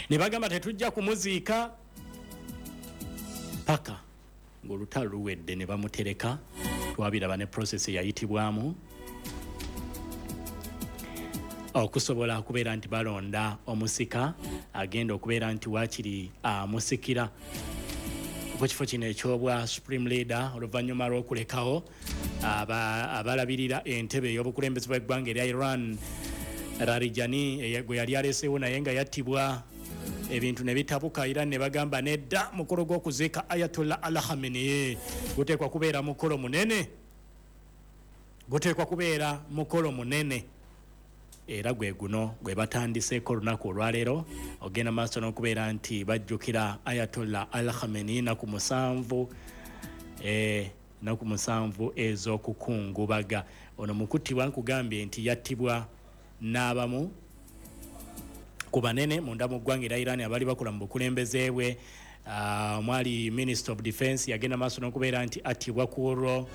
Ne bagamba tetujja kumuziika paka ng'olutalo luwedde, ne bamutereka. Twabiraba ne process eyayitibwamu okusobola okubeera nti balonda omusika agenda okubeera nti waakiri amusikira ku kifo kino ekyobwa supreme leader, oluvannyuma lw'okulekawo abalabirira entebe ey'obukulembeze bw'eggwanga erya Iran, Larijani gwe yali aleseewo, naye nga yattibwa, ebintu ne bitabuka. Iran ne bagamba nedda, mukolo gw'okuziika Ayatollah Al Khamenei guteekwa kubeera mukolo munene, guteekwa kubeera mukolo munene. Era gwe guno gwe batandiseeko olunaku olwaleero, ogenda maaso n'okubeera nti bajjukira Ayatollah Al Khamenei naku 7, naku 7 ez'okukungubaga. Ono mukuttibwa nkugambye nti yattibwa n'abamu ku banene munda mu ggwanga erya Iran abali bakola mu bukulembeze bwe. Mwali minister of defense, yagenda maaso n'okubeera nti attibwa ku olwo.